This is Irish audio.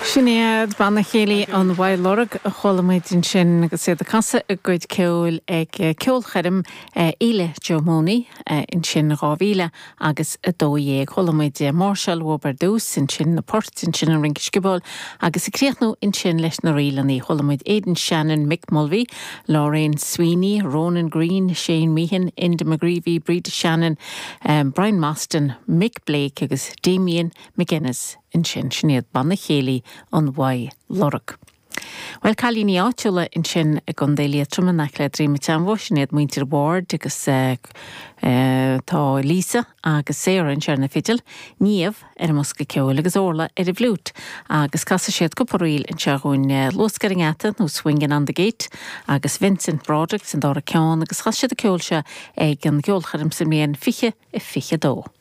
Sin iad Banna Céilí an Mhaigh Lorg a chuala muid ansin agus iad ag casadh a gcuid ceoil ag ceolchoirm Fhéile Joe Mooney ansin 2000 agus 12. Chuala muid máirseáil uathu ar dtús, ansin na poirt, ansin an rince sciobóil agus ag críochnú ansin leis na ríleanna. Chuala muid Aidan Shannon, Mick Mulvey, Lorraine Sweeney, Ronan Greene, Shane Meehan, Enda McGreevy, Breda Shannon, Brian Mostyn, Mick Blake agus Damien McGuinness ansin. Sin iad Banna Céilí an Mhaigh Lorg. Bhuel, cailíní áitiúla ansin i gContae Liatroma in aice le Droim an tSeanbhó, sin iad muintir Ward agus tá Lisa agus Sarah anseo ar na fidil, Niamh ar an mbosca ceoil agus Orla ar an bhfliúit agus casfaidh siad cúpla ríl anseo dhúinn, Luasc ar an nGeata nó Swingin' on the Gate agus Vincent Broderick san dara ceann agus chas siad an ceol seo ag an gceolchoirm sa mbliain 2022.